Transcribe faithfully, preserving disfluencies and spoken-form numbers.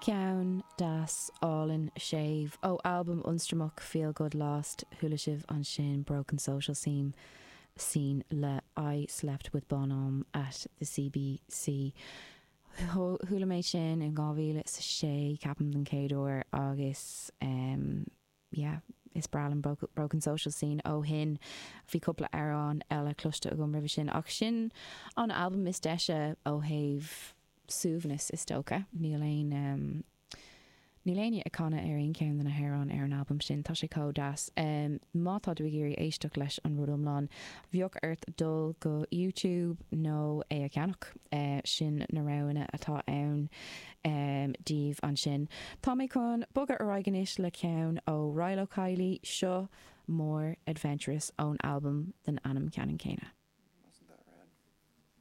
Ceann deas álainn séimh ó albam ionstraimeach Feel Good Lost chuala sibh ansin Broken Social Scene scene le I Slept with Bonhomme at the CBC. Chuala mé sin in dhá mhíle is a sé ceapaim den chéad uair agus um, yeah, is breá liom Broken Social Scene ó shin bhí cúpla amhrán eile cloiste agam roimhe sin ach sin an album is deise ó thaobh suaimhneas is dócha níl aon um, Níl éinne ag canadh ar aon cheann de na hamhráin ar an albam sin, tá sé chomh deas. Um, má tá tú ag iarraidh éisteacht leis an rud iomlán, bheadh ort dul go YouTube nó é a cheannach. Uh, sin na roghanna atá ann um, daoibh ansin. Tá mé chun bogadh ar aghaidh anois le ceann ó Rilo Kiley seo More Adventurous ón albam den ainm ceannann céanna.